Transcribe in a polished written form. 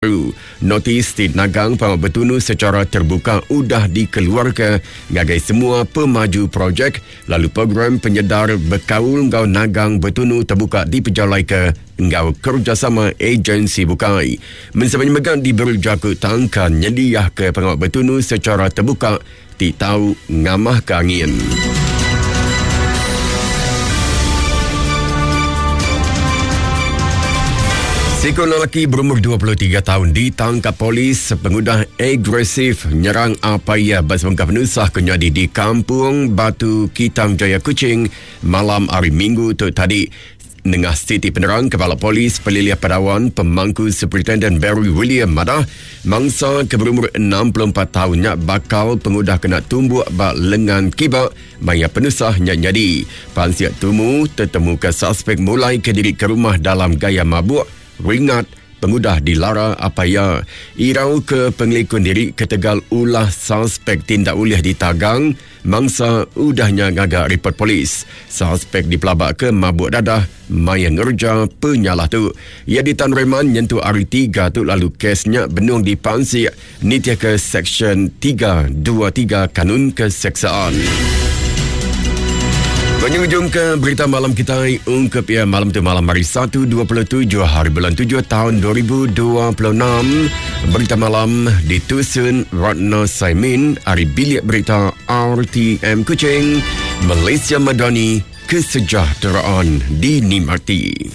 Baru, notis ti nagang pengawa betunu sechara terbuka udah dikeluarka ngagai semua pemaju projek lalu program penyedar bekaul enggau nagang betunu tebuka dipejalaika enggau kerejasama ejensi bukai. Mensia mayuh mega diberi jaku tangkan nyediahka pengawa betunu sechara tebuka ti tau ngamahka angin. Siku lelaki berumur 23 tahun ditangkap polis sepengudah agresif nyerang apai iya ba sebengkah penusah ke nyadi di Kampung Batu Kitang Jaya Kuching malam hari Minggu tu tadi. Nengah siti penerang Kepala Polis Pelilih Padawan Pemangku Superintenden Barry William madah mangsa ke berumur 64 taun nya bakal pengudah kena tumbuk ba lengan kiba maya penusah nya nyadi. Pansik tumu tetemuka suspek mulai ke diri ke rumah dalam gaya mabuk ringat pengudah dilara apai iya. Irau ke pengelikun diri ketegal ulah suspek ti enda ulih ditagang, mangsa udah nya ngaga ripot polis. Suspek dipelabaka mabuk dadah maya ngereja penyalah tu. Iya ditan reman nyentuk hari Tiga tu lalu kes nya benung dipansik nitihka Seksyen 323 Kanun Keseksaan. Penyujung ke berita malam kitai ungkup ya malam tu malam hari 1 27 hari bulan 7 tahun 2026. Berita malam ditusun Ratna Saimin ari bilik berita RTM Kuching, Malaysia Madani, kesejahteraan dinikmati.